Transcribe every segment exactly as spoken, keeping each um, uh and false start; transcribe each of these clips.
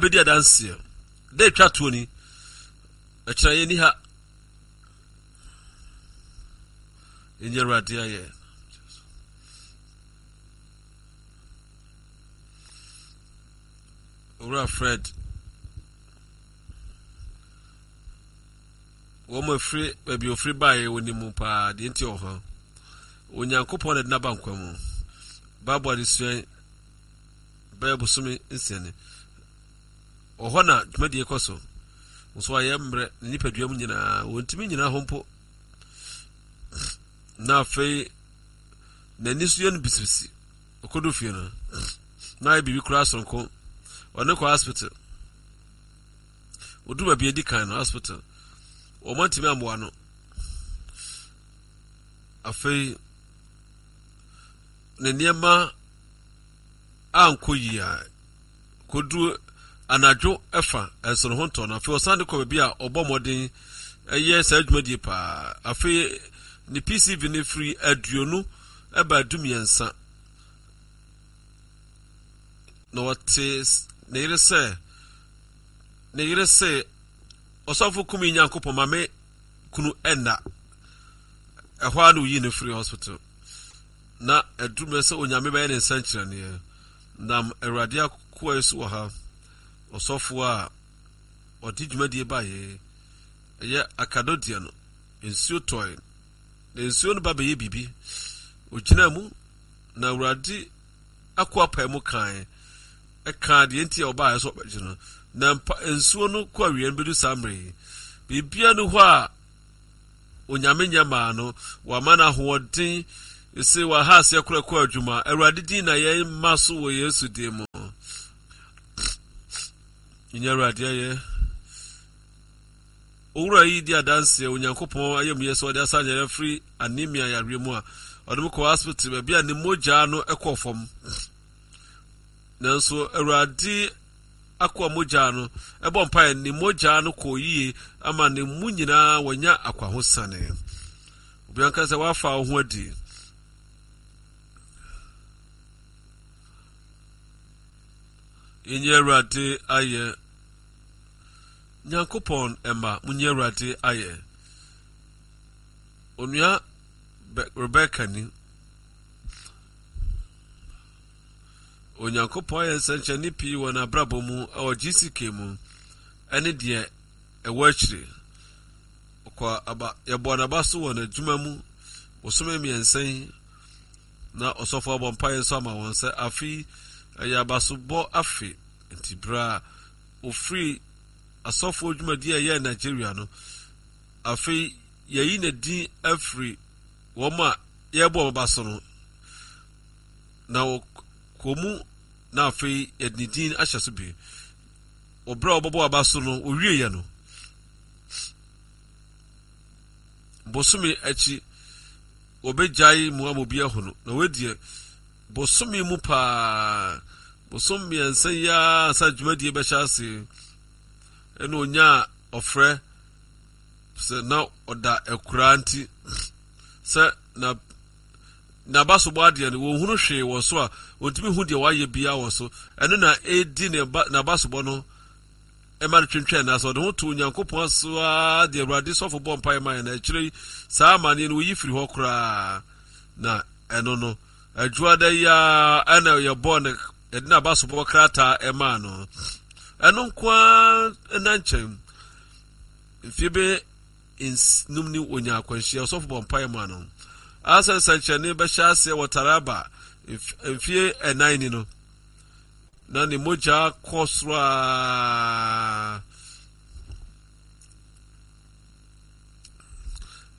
bɛdi adanseɛ. Da atwa toɔ ni. Ɛkyerɛ yɛn ni ha. Ɛnyɛ Awurade ayɛ. Owura Fred, wɔn afiri baabi ofiri baeɛ wɔ ne mu paa deɛ nti wɔ hɔ. Onyankopɔn na de n'aba nkwa mu. Bible adesua bɛyɛ bosome nsia ni. Wɔ hɔ na dwumadie kɔ so. Nso ayɛ mmerɛ ne nipadua mu nyinaa wɔntumi nyina hɔ mpo. Na afei n'ani so yɛ no bisibisi. Ɔkɔdu fie no na ayɛ biribi koraa soronko. Ɔne kɔ hospital. Ɔduru baabi adi kan no hospital. Wɔn antumi ammoa no. Afei ne nneɛma ankɔ yie a kɔduru anadwo ɛfa nso ne ho ntɔ no. Afei ɔsan de kɔ baabi a ɔbɔ mmɔden ɛyɛ saa dwumadie paa. Afei ne P C V no firi aduonu ɛba du mmiɛnsa. Na ɔte ne yere sɛ ne yere sɛ ɔsɔfo kumi Nyankopɔn ma me kunu ɛnna. Ɛhɔ ara na oyi no firi hospital. Na ɛduru mmerɛ sɛ Onyame bɛyɛ ne nsɛnkyerɛnneɛ. Nam Awurade akoa yi so wɔ ha. Ɔsɔfo a ɔde dwumadie baeɛ ɛyɛ akadodeɛ no, nsuo tɔe. Na nsuo no ba bɛyɛ biribi. Ogyina mu na Awurade akoa pae mu kae. Ɛka deɛ nti a ɔbaeɛ sɛ ɔbɛgye no. Na mpa nsuo no kɔ awie no bɛdu saa mmerɛ yi. Biribiara ni hɔ a Onyame nyɛ maa no. Wama no ahoɔden. Ɛsɛ waha aseɛ korɔ kɔ adwuma. Awurade din na yɛn mma so wɔ Yesu din mu. Nyɛ Awurade ayɛ. Owura yi di adanseɛ Onyankopɔn ayamyɛ sɛ ɔde asa nyare afiri anemia yareɛ mu a ɔde mu kɔ hospital baabi a ne mogya no kɔɔ fam. Nanso Awurade akoa mogya no ɛbɔ mpaeɛ ne mogya no kɔɔ yie ama ne mu nyinaa wɔnya akwahosane. Obi anka sɛ wafa wo ho adi. Yɛnyɛ Awurade ayɛ. Nyankopɔn ɛma munyɛ Awurade ayɛ. Onua Rebecca ni. Onyankopɔn ayɛ nsɛnkyerɛnne pii wɔ n'abrabɔ mu ɛwɔ G C K mu ɛne deɛ ɛwɔ akyire. Ɔkɔ aba yɛbɔ n'aba so wɔ n'adwuma mu bosome mmiɛnsa yi na ɔsɔfo abɔ mpaeɛ nso ama wɔn sɛ afe ɛyɛ abasobɔ afe. Nti berɛ a ofiri asɔfoɔ dwumadie a ɛyɛ Nigeria no, afei yɛyi ne din afiri wɔn a yɛbɔ wɔn aba so no na kɔ mu na afei yɛde ne din ahyɛ so bi. Ɔbrɛ a ɔbɛbɔ aba so no owieɛ no bosome akyi wɔbɛgyae mu ama obi ahu no. Na wɔadiɛ bosome mu paa bosom mmiɛnsa yi ara ansa dwumadie bɛhyɛ ase ɛna onyaa ɔfrɛ sɛ na ɔda akuraa nti sɛ na n'abasobɔ adeɛ no wɔnhunu hwee wɔ so a wɔntumi hu deɛ wayɛ biara wɔ so. Ɛno na ɛdi ne ba n'abasobɔ no ɛma no twentwɛn na sɛ ɔde ho to Onyankopɔn so ara deɛ Awurade sɔfo bɔ mpaeɛ ma yɛn na akyire yi saa amanneɛ no wɔyi firi hɔ koraa. Na ɛno no adwuada yi ara ɛna yɛbɔ ne yɛde n'abasobɔ krataa ɛmaa no. Ɛno nko ara na nkyɛn mfie bɛ num ni onya akwanhyia ɔsɔfo bɔ mpaeɛ ma no. Asa nsɛnkyerɛnne bɛhyɛ aseɛ wɔ Taraba mfie ɛnan ni no na ne mogya kɔ soro a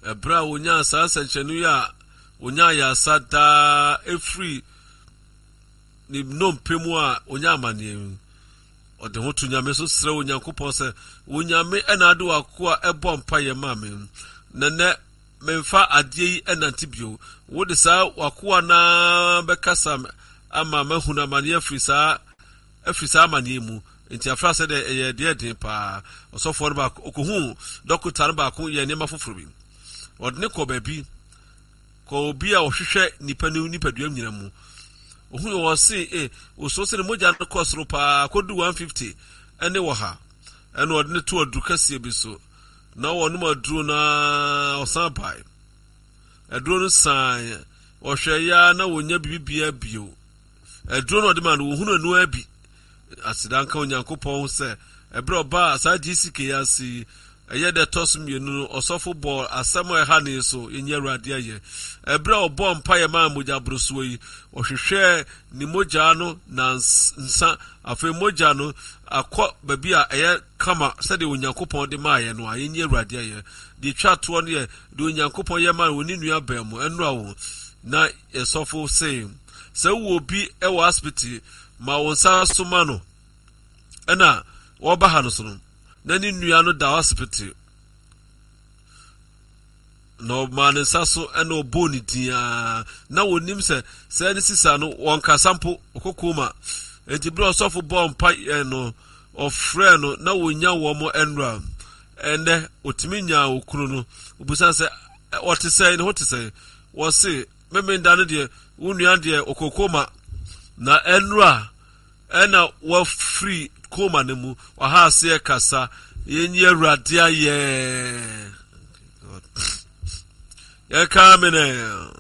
ɛberɛ a onyaa saa nsɛnkyerɛnne yi a onyaa yasa daa efiri ne nnompe mu a onyaa amanneɛ yi. Ɔde ho to Nyame so srɛ Onyankopɔn sɛ Onyame ɛna ade w'akoa ɛbɔ mpaeɛ ma me. Na nnɛ memfa adeɛ yi ɛnante bio. Wode saa w'akoa naa bɛkasa ama mahunu amanneɛ afiri saa afiri saa amanneɛ mu. Nti afra sɛ deɛ ɛyɛ deɛ den paa. Ɔsɔfoɔ no baako okohu dɔkota no baako yɛ nneɛma foforɔ bi. Ɔde ne kɔ baabi kɔ obi a ɔhwehwɛ nipa ne nipadua nyina mu. Ohun wɔ se e oso se ne mogya no kɔ soro paa kɔdu one fifty ne ɔha. Ɛna ɔde no to aduru kɛseɛ bi so. Na wɔnom aduro no ara ɔsan bae. Aduro no san ɔhwɛ ya na wɔnya biribiara bio. Aduro no ɔde ma no wɔhunu ɛno ara bi. Aseda nka Onyankopɔn sɛ ɛberɛ ɔbaa saa G C K yi ase yi, ɛyɛ dɛ ɛtɔ so mmienu no, ɔsɔfo bɔɔ asɛm a ɛha ne so. Yɛnyɛ Awurade ayɛ. Ɛberɛ a ɔbɔɔ mpaeɛ maa mogya borosoɔ yi, ɔhwehwɛɛ ne mogya no nansa. Afei mogya no akɔ baabi a ɛyɛ kama sɛdeɛ Onyankopɔn de maayɛ no a. Yɛnyɛ Awurade ayɛ. Deɛ twa toɔ no yɛ deɛ Onyankopɔn yɛ maa wɔ ne nua bɛn mu ɛnora wo na yɛsɔfo se sɛ wowɔ obi wɔ asipiti ma wo nsa so ma no. Ɛna wɔba ha no so no, na ne nua no da asipiti na ɔmaa ne nsa so ɛna ɔbɔɔ ne din a na wɔnim sɛ sɛ ne sisa no wɔnkasa mpo, ɔkɔ koma. Enti berɛ ɔsɔfo bɔɔ mpa no, ɔfrɛ no na wɔnya wɔn ɛnora. Ɛnɛ ɔtumi nyaa okunu no, obusa sɛ ɔte sɛn, ne ho te sɛn. Wɔse memenda no deɛ, wo nua deɛ ɔkɔ koma na ɛnora ɛna wafiri koma no mu, ɔha aseɛ kasa. Yɛnyi Awurade ayɛ. Yɛka me nɛ.